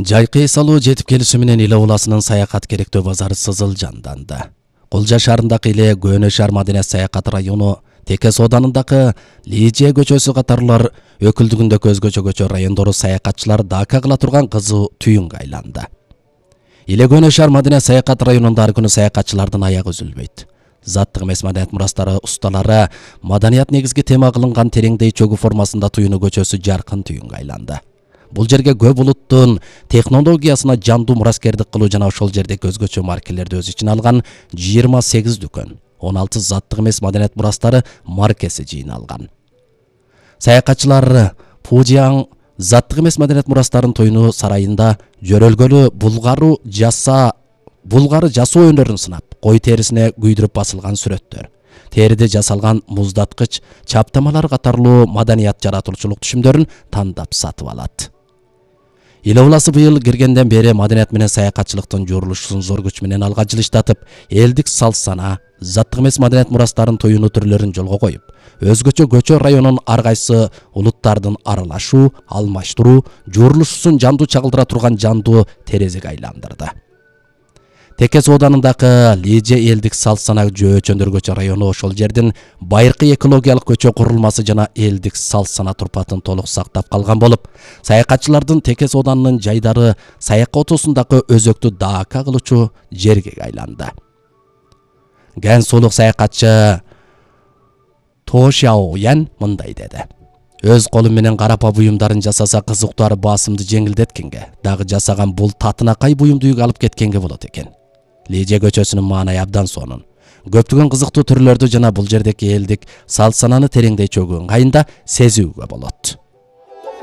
Жайкы эс алуу жетип келиши менен Иле Уласынын саякат керектөө базары сызыл жанданды. Кулжа шаарындагы Иле Көөнө шаар маданият саякат району, Теке сооданындагы Лижия көчөсү катарлар өкүлдүгүндөгү өзгөчө көчө райондору саякатчылар дака кыла турган кызуу түйүнгө айланды. Иле Көөнө шаар маданият саякат районунда ар күнү саякатчылардын аягы үзүлбөйт. Заттык эмес маданият мурастары усталары маданият негизги тема кылынган тереңдей чөгүү формасында туюну көчөсү жаркын түйүнгө айланды. Бул жерге көп улуттун технологиясына жандуу мураскердик кылуу жана ошол жердеги өзгөчө маркелерди өз ичине алган 28 дүкөн, 16 заттык эмес маданият мурастары маркеси жыйналган. Саякатчылар Пужияң заттык эмес маданият мурастарын туюну сарайында жөрөлгөлү булгары жасоо өнөрүн сынап, кой терисине күйдүрүп басылган сүрөттөр, териде жасалган муздаткыч, чаптамалар катарлуу маданият жаратуучулук түшүмдөрүн тандап сатып алат. Иле Уласы быйыл киргенден бери маданият менен саякатчылыктын журулушун зор күч менен алга жылыштатып, элдик салт-сана, заттык эмес маданият мурастарын туюну түрлөрүн жолго коюп, өзгөчө көчө районун ар кайсы улуттардын аралашуу, алмаштыруу, журулушун жандуу чагылдыра турган жандуу терезеге айландырды. Теке сооданындагы Лижия элдик салт-сана жөөчөндөргөчө району ошол жердин байыркы экологиялык көчө курулмасы жана элдик салт-сана турпатын толук сактап калган болуп, саякатчылардын Теке сооданынын жайдары саяк отосундагы өзөктү дака кылуучу жерге айланды. Ген сулук саякатчы Тошяоян мындай деди: Өз колум менен карапа буюмдарын жасаса кызыктуу ары басымды жеңилдеткенге, дагы жасаган бул татынакай буюмду үйгө алып кеткенге болот экен. Лижия көчөсүнүн маанайы абдан сонун. Көптөгөн кызыктуу түрлөрдү жана бул жердеги элдик салт-сананы тереңдей чөгүү ыңгайында сезүүгө болот.